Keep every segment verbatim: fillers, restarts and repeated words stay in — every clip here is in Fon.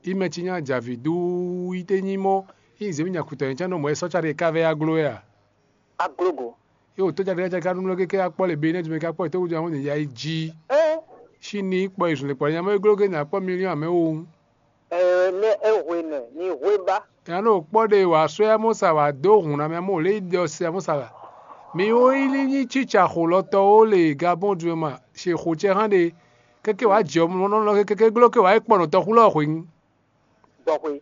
Imɛ ci nya javi duu yi te nyi mɔ, yi zemi nya kutɔ nyi can nɔ mɔ e sɔ ca ɖe ka vɛ ya glo ya. Aglogo. Yo to ca ɖe ka nú lɔ keke akpɔ le be ne dumi ka kpɔ to wudu amɔ ne ya yi ji. Eh, Si ni kpɔ yi zun le kpɔ nya mɔ e glo ke nya kpɔ miliɔn amɛ wo. Eh, ne e hwe nɛ ni hwe ba. Ya no kpɔ ɖe wa sɔ ya mɔ sa wa do hun na mɛ mɔ le yi ɖɔ si ya mɔ sa la. Mi wo yi li nyi cica xo lɔ tɔ wo le Gabon du ma, si xo cɛ hã ɖe. Keke wa jɛ mɔ nɔ lɔ keke glo ke wa yi kpɔ nɔ tɔ xu lɔ hwe nyi. Dɔxwe.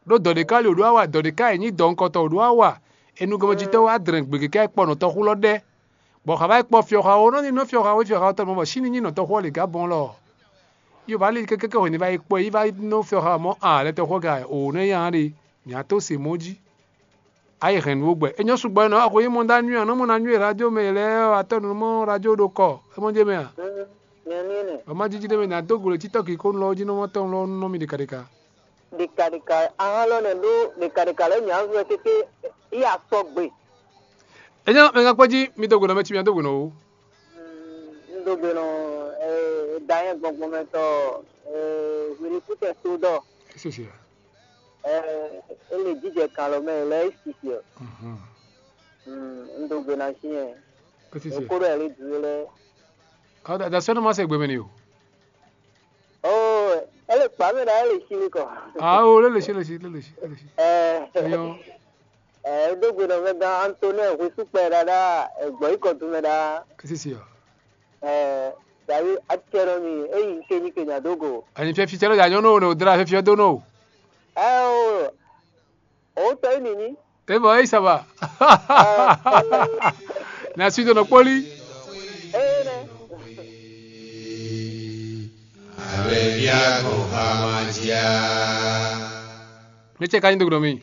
Ɖó dɔ̌ ɖé ka li wǒ ɖó awa, dɔ̌ ɖé ka yi nyí dɔ̌nkɔtɔn wǒ ɖó awa. Enugɔmɛjitɔ́ wá dlɛ̌n gbe kɛkɛ kpɔ nɔtɔxú lɔ ɖɛ, bɔ xá vá yi kpɔ fyɔxawo nɔ ní nɔ fyɔxawo fyɔxawo tɔn mɔ bɔ sín ní nyí nɔtɔxú ɔ́ lě gá bɔn lɔ. Yi wǒ vá lí kɛkɛ hwě ní vá yi kpɔ yi vá nɔ fyɔxawo mɔ a lɛ́ tɔxú ɔ́ ga o nɛ́ nya ɖe. Mǐ á tó se mɔ̌ jí. A yi hɛn nǔ ó gbɛ. É nyɔ́ sugbɔ é nɔ axɔ yi mɔ ɖó anywɛ́ ɔ́, nɔ mɔ ná nywɛ́ radio mɛ lɛ́ɛ ɔ́, atɔ́ nǔ mɔ radio ɖo kɔ é mɔ jɛ mɛ a? Nyɛ ní nɛ. Ɔ́ má jíjí ɖé mɛ ná dó gǔ lě títɔ́ kiko nú lɔ ɔ́ jí nɔ mɔ tɔn lɔ nú nɔ mi ɖekaɖeka. Ɖekaɖeka ahán lɔ nɛ ɖó ɖekaɖeka lɛ́ɛ nyǎ vɛ kéké. Iya sɔgbe. É nyɔ́ mɛ gán kpɔ́ jí mi dó gǔ nɔ mɛ cí mi dó gǔ nɔ o. Un dó gbe nɔ danyɛ gbɔngbɔn mɛ tɔ hwiɖikútɛ sódɔ. Sisi. Ɛ, é le jijɛ kan lɔ mɛ lɛ é sisi ɔ. Un do gbe na si yɛ. Sisi. Kó ɖɔ ɛlɛ dúró lɛ. Ɔ da sɛnɛ ma se gbeme ni o. Oh, ɛlɛ kpa mɛ da ɛlɛ si mi kɔ. Ah, o lele si lele si lele si lele si. Ɛ, Eyo. Ɛ, é dó gbe nɔ mɛ gan Antonin Hwesukpɛ ɖaɖa, ɛ, gbɔ yi kɔ dun mɛ ɖa. Sisi ɔ. Ɛ, davi acɛ nɔ mi eyi ke ni ke nya dó go. Ani fia fi cɛ lɔ ya nyɔnu o ne o dra fia fi ɔ do nɔ o. Ɛ o, o tɔ yi nini. E bɔ eyi saba. Na si do nɔ kpoli. Eye nɛ. Abɛbia ko hamadia. Mi cɛ ka nyi do gblɔ mi.